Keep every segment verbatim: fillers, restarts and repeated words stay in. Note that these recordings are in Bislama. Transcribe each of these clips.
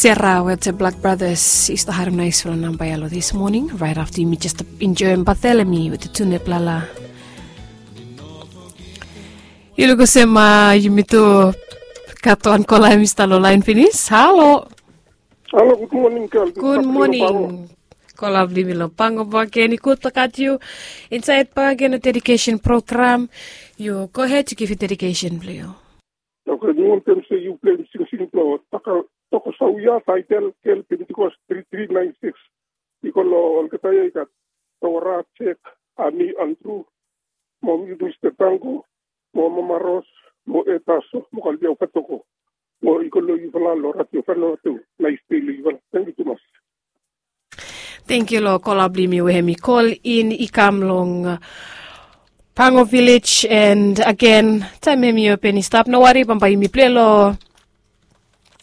Sera wetem Black Brothers i stap harem naisfala namba ya long this morning. Right after yumi just enjoyim Bartholomew wetem tune blala. Yu luk olsem yumi tu gat wan kola em i stap long lain finis. Halo. Halo, gud moning, gel. Gud moning. Kola blong yumi long Pango bakegen, i gud blong gat yu insaed bakegen long dedication program. Yu gohed, yu givim dedication blong yu. Oke, mi wantem se yu pleim singsing blong Tokosauya, taetel Gel Pentikos tri tri naen sikis. I go long olgeta ya i gat Dora, Jek, Ami, Andru, mo Mista Tango, mo Mama Ros, mo Etaso, mo Kalbiau Katoko. Mo i go long yufala long Radio Vanuatu. Naes dei long yufala. Tangkiu tumas. Tangkiu long kola blong yumi we hem i kol in i kam long Pango Village, and agen taem hem i open i stap, no wari, bambae yumi pilai long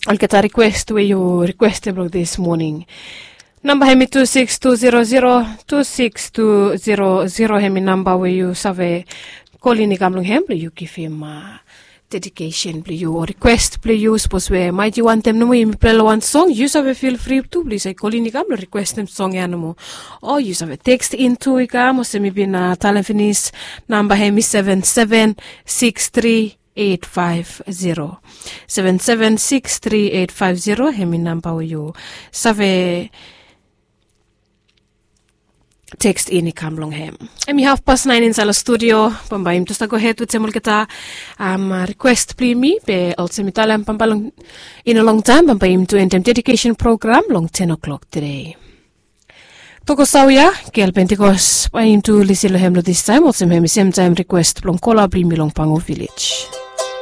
olgeta rikwes we yu rikwestem long this morning. Namba hem i tu sikis tu zero zero tu sikis tu zero zero, hem i namba we yu save kol in i kam long hem blong yu givim dedication blong yu o rikwes blong yu. Sapos we maet yu wantem nomo yumi pilai long wan song, yu save fil fri tu blong yu save kol in i kam blong rikwestem song ya nomo. O yu save tekst in tu i kam olsem mi bin talem finis. Namba hem i seven seven six three eight five zero. Seven seven six three eight five zero, hem i namba we yu save tekst in i kam long hem. Hem i hafpas naen insaed long studio. Bambae yumi tu stap gohed wetem olgeta rikwes blong yumi, be olsem mi talem, bambae long i no longtaem bambae yumi tu endem dedication program long ten o'clock tede. Tokosauya, Gel Pentikos, bae yumi tu lisin long hem long this taem olsem hem i semtaem rikwes blong kola blong yumi long Pango Village.